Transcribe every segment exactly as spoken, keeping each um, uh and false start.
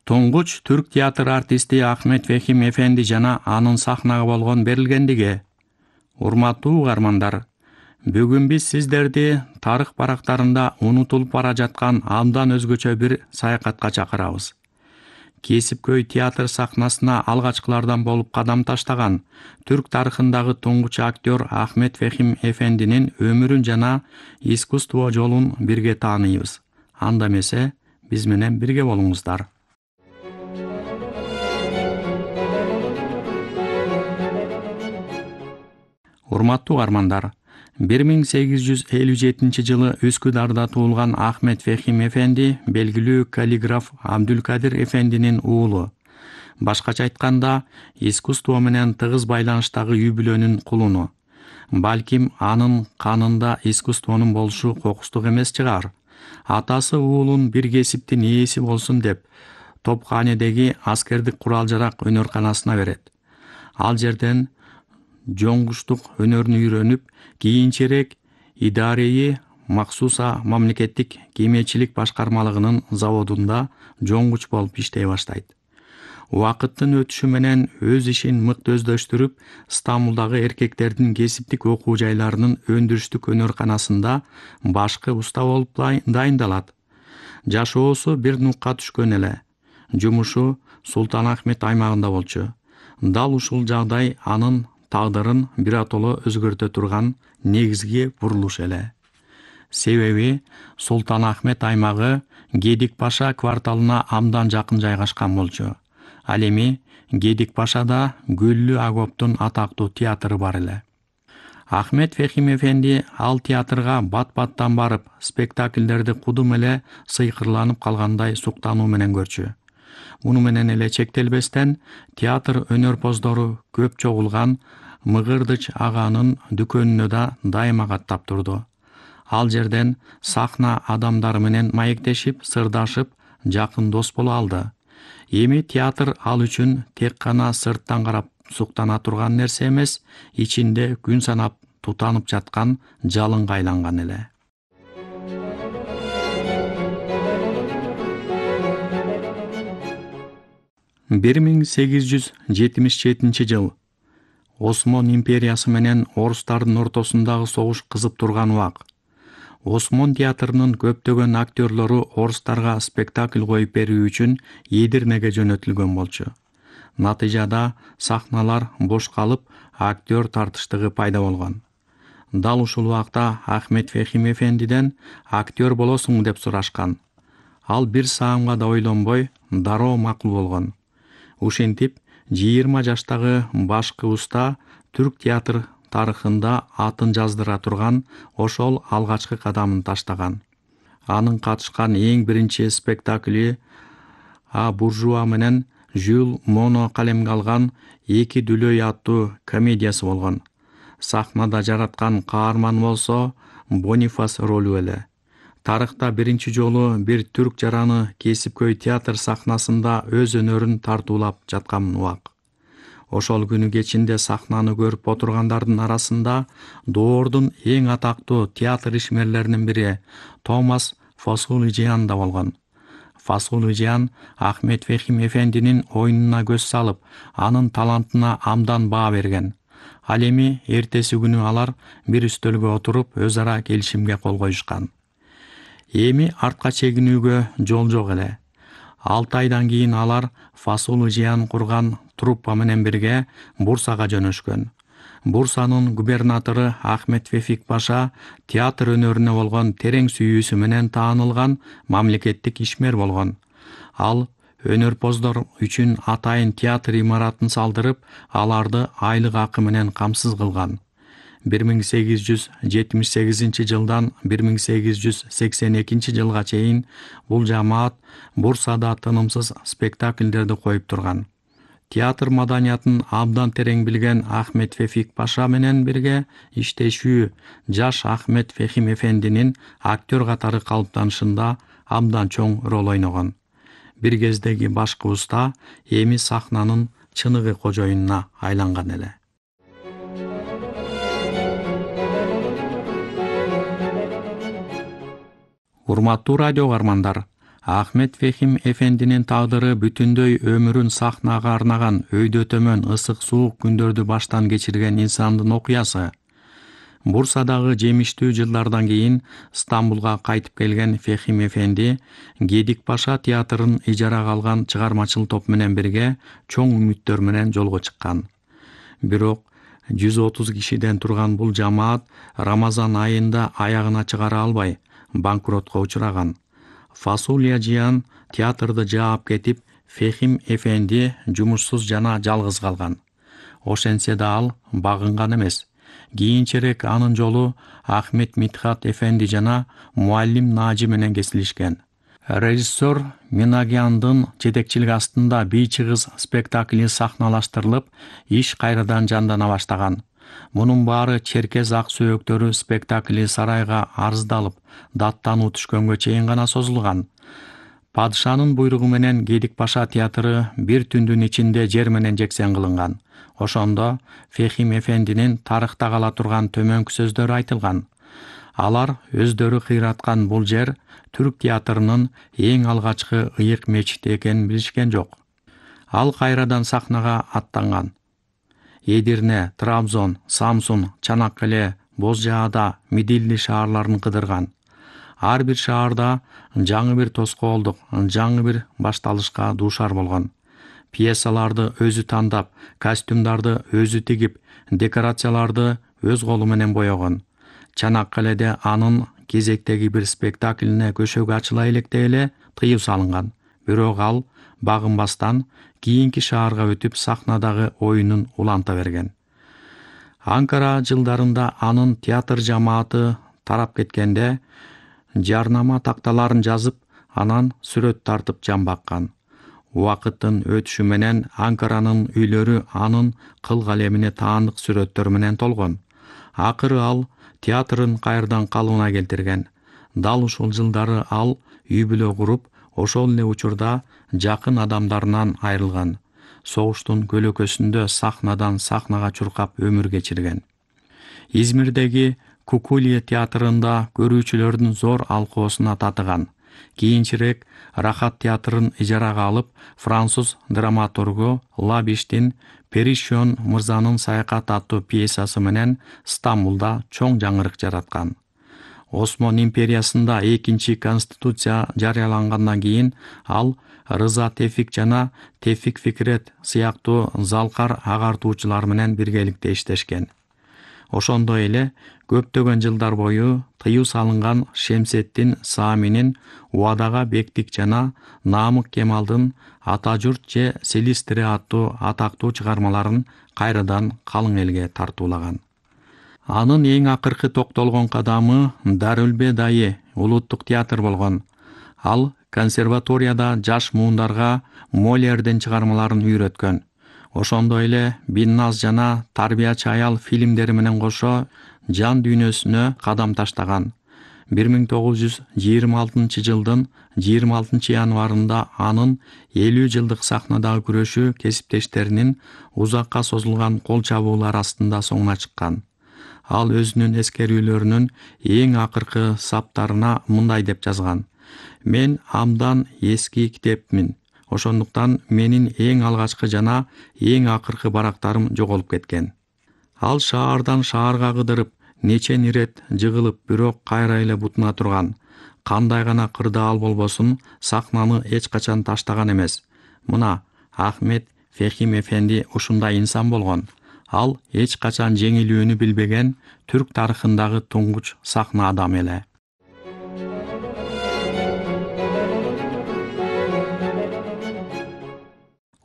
Туңгуч түрк театр артисти Ахмет Фехим эфенди жана анын сахнага болгон берилгендиги. Урматтуу угармандар, бүгүн биз сиздерди тарых барактарында унутулуп бара жаткан абдан өзгөчө бир саякатка чакырабыз. Кесипкөй театр сахнасына алгачкылардан болуп кадам таштаган түрк тарыхындагы туңгуч актер Ахмет Фехим эфендинин өмүрүн жана искусство жолун бирге тааныйбыз. Анда эмесе, биз менен бирге болуңуздар. Урматтуу угармандар, бир миң сегиз жүз элүү жетинчи жылы Үскүдарда туулган Ахмет Фехим эфенди белгилүү каллиграф Абдулкадир эфендинин уулу. Башкача айтканда, искусство менен тыгыз байланыштагы үй бүлөнүн кулуну. Балким анын канында искусствонун болушу кокустук эмес чыгар. Атасы уулун бир кесиптин ээси болсун деп, Топканедеги аскердик курал-жарак өнөрканасына берет. Ал жерден жоңгуштук өнөрүн үйрөнүп, кийинчерээк идареи махсуса мамлекеттик кемечилик башкармалыгынын заводунда жоңгуч болуп иштей баштайт. Убакыттын өтүшү менен өз ишин мыкты өздөштүрүп, Стамбулдагы эркектердин кесиптик окуу жайларынын өндүрүштүк өнөрканасында башкы уста болуп дайындалат. Жашоосу бир нукка түшкөн эле. Жумушу Султанахмет аймагында болчу. Дал ушул жагдай анын тагдырын биротоло өзгөртө турган негизги бурулуш эле. Себеби Султанахмет аймагы Гедик Паша кварталына абдан жакын жайгашкан болчу. Ал эми Гедик Пашада Гүллү Агоптун атактуу театры бар эле. Ахмет Фехим эфенди ал театрга бат-баттан барып, спектакльдерди кудум эле сыйкырланып калгандай суктануу менен көрчү. Муну менен эле чектелбестен, театр өнөрпоздору көп чогулган Мыгырдыч аганын дүкөнүнө да дайыма каттап турду. Ал жерден сахна адамдары менен маектешип, сырдашып, жакын дос боло алды. Эми театр ал үчүн тек гана сырттан карап суктана турган нерсе эмес, ичинде күн санап тутанып жаткан жалынга айланган эле. бир миң сегиз жүз жетимиш жетинчи жыл. Осмон империясы менен орустардын ортосундагы согуш кызып турган убак. Осмон театрынын көптөгөн актерлору орустарга спектакль коюп берүү үчүн Эдирнеге жөнөтүлгөн болчу. Натыйжада сахналар бош калып, актер тартыштыгы пайда болгон. Дал ушул убакта Ахмет Фехим эфендиден актер болосуң деп сурашкан. Ал бир саамга да ойлонбой, дароо макул болгон. Ушинтип, жыйырма жаштагы башкы уста түрк театр тарыхында атын жаздыра турган ошол алгачкы кадамын таштаган. Анын катышкан эң биринчи спектакли А буржуа менен Жюл Моно калемге алган Эки дүлөй аттуу комедиясы болгон. Сахнада жараткан каарман болсо Бонифас ролу эле. Тарыхта биринчи жолу бир түрк жараны кесипкөй театр сахнасында өз өнөрүн тартуулап жаткан убак. Ошол күнү кечинде сахнаны көрүп отургандардын арасында доордун эң атактуу театр ишмерлеринин бири Томас Фасулжиан да болгон. Фасулжиан Ахмет Фехим эфендинин оюнуна көз салып, анын талантына абдан баа берген. Ал эми эртеси күнү алар бир үстөлгө отуруп, өз ара келишимге кол коюшкан. Эми артка чегинүүгө жол жок эле. Алты айдан кийин алар Фасулжиан курган труппа менен бирге Бурсага жөнөшкөн. Бурсанын губернатору Ахмет Фефик Паша театр өнөрүнө болгон терең сүйүүсү менен таанылган мамлекеттик ишмер болгон. Ал өнөрпоздор үчүн атайын театр имаратын салдырып, аларды айлык акы менен камсыз кылган. бир миң сегиз жүз жетимиш сегизинчи жылдан бир миң сегиз жүз сексен экинчи жылга чейин бул жамаат Бурсада тынымсыз спектакльдерди коюп турган. Театр маданиятын абдан терең билген Ахмет Фефик Паша менен бирге иштешүү жаш Ахмет Фехим эфендинин актер катары калыптанышында абдан чоң роль ойногон. Бир кездеги башкы уста эми сахнанын чыныгы кожоюнуна айланган эле. Урматтуу радио угармандар, Ахмет Фехим эфендинин тагдыры бүтүндөй өмүрүн сахнага арнаган, өйдө төмөн ысык суук күндөрдү баштан кечирген инсандын окуясы. Бурсадагы жемиштүү жылдардан кийин Стамбулга кайтып келген Фехим эфенди Гедик Паша театрын ижарага алган чыгармачыл топ менен бирге чоң үмүттөр менен жолго чыккан. Бирок жүз отуз кишиден турган бул жамаат Рамазан айында аягына чыгара албай, банкротко учураган. Фасулия Жыян театрды жаап кетип, Фехим эфенди жумушсуз жана жалгыз калган. Ошентсе да ал багынган эмес. Кийинчерээк анын жолу Ахмет Митхат эфенди жана Муаллим Нажи менен кесилишкен. Режиссер Минагяндын жетекчилиги астында Бий чыгыз спектакли сахналаштырылып, иш кайрадан жандана баштаган. Мунун баары Черкес ак сөөктөрү спектакли сарайга арыздалып, даттануу түшкөнгө чейин гана созулган. Падышанын буйругу менен Гедик Паша театры бир түндүн ичинде жер менен жексен кылынган. Ошондо Фехим эфендинин тарыхта кала турган төмөнкү сөздөрү айтылган. Алар өздөрү кыйраткан бул жер түрк театрынын эң алгачкы ыйык мечити экенин билишкен жок. Ал кайрадан сахнага аттанган. Эдирне, Трабзон, Самсун, Чанаккале, Боз Жаада, Мидилли шаарларын кыдырган. Ар бир шаарда жаңы бир тоскоолдук, жаңы бир башталышка дуушар болгон. Пьесаларды өзү тандап, костюмдарды өзү тигип, декорацияларды өз колу менен боёгон. Чанаккаледе анын кезектеги бир спектаклине көшөгө ачыла электе эле тыюу салынган. Бирок ал багынбастан кийинки шаарга өтүп сахнадагы оюнун уланта берген. Анкара жылдарында анын театр жамааты тарап кеткенде, жарнама такталарын жазып, анан сүрөт тартып жан баккан. Убакыттын өтүшү менен Анкаранын үйлөрү анын кыл калемине таандык сүрөттөр менен толгон. Акыры ал театрын кайрадан калыбына келтирген. Дал ушул жылдары ал үй бүлө куруп, ошол эле учурда жакын адамдарынан айрылган. Согуштун көлөкөсүндө сахнадан сахнага чуркап өмүр кечирген. Измирдеги Кукулье театрында көрүүчүлөрдүн зор алкоосуна татыган. Кийинчерээк Рахат театрын ижарага алып, француз драматургу Лабиштин Перишон мырзанын саякат аттуу пьесасы менен Стамбулда чоң жаңырык жараткан. Осмон империясында экинчи конституция жарыялангандан кийин ал Рыза Тефик жана Тефик Фикрет сыяктуу залкар агартуучулар менен биргеликте иштешкен. Ошондой эле көптөгөн жылдар бою тыюу салынган Шемсеттин Сааминин Убадага бектик жана Намык Кемалдын Ата журт же Селистире аттуу атактуу чыгармаларын кайрадан калың элге тартуулаган. Анын эң акыркы токтолгон кадамы Дарүлбе Дайы улуттук театр болгон. Ал консерваторияда жаш муундарга Молердин чыгармаларын үйрөткөн. Ошондой эле Бинназ жана Тарбиячы аял фильмдери менен кошо жан дүйнөсүнө кадам таштаган. бир миң тогуз жүз жыйырма алтынчы жылдын жыйырма алтынчы январында анын элүү жылдык сахнадагы күрөшү кесиптештеринин узакка созулган кол чабуулар астында соңуна чыккан. Ал өзүнүн эскерүүлөрүнүн эң акыркы саптарына мындай деп жазган: "Мен абдан эски китепмин. Ошондуктан менин эң алгачкы жана эң акыркы барактарым жоголуп кеткен." Ал шаардан шаарга кыдырып, нечен ирет жыгылып, бирок кайра эле бутуна турган. Кандай гана кырдаал болбосун, сахнаны эч качан таштаган эмес. Мына Ахмет Фехим эфенди ушундай инсан болгон. Ал эч качан жеңилүүнү билбеген түрк тарыхындагы туңгуч сахна адамы эле.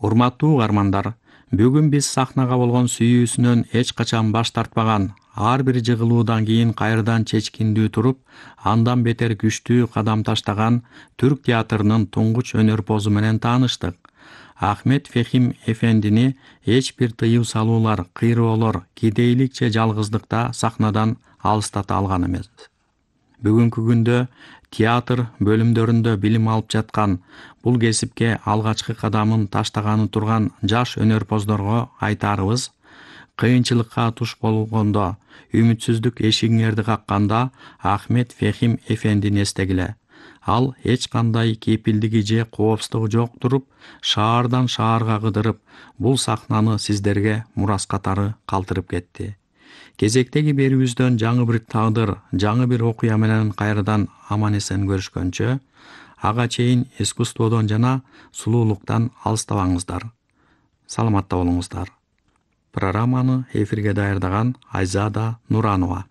Урматтуу угармандар, бүгүн биз сахнага болгон сүйүүсүнөн эч качан баш тартпаган, ар бир жыгылуудан кийин кайрадан чечкиндүү туруп, андан бетер күчтүү кадам таштаган түрк театрынын туңгуч өнөрпозу менен тааныштык. Ахмет Фехим эфендини эч бир тыюу салуулар, кыйроолор, кедейлик же жалгыздыкта сахнадан алыстата алган эмес. Бүгүнкү күндө театр бөлүмдөрүндө билим алып жаткан, бул кесипке алгачкы кадамын таштаганы турган жаш өнөрпоздорго айтарыбыз: кыйынчылыкка туш болгондо, үмүтсүздүк эшигиңерди какканда Ахмет Фехим эфендини эстегиле. Ал эч кандай кепилдиги же коопсуздугу жок туруп, шаардан шаарга кыдырып, бул сахнаны сиздерге мурас катары калтырып кетти. Кезектеги берүүбүздөн жаңы бир тагдыр, жаңы бир окуя менен кайрадан аман-эсен көрүшкөнчө, ага чейин искусстводон жана сулуулуктан алыстабаңыздар. Саламатта болуңуздар. Программаны эфирге даярдаган Айзада Нуранова.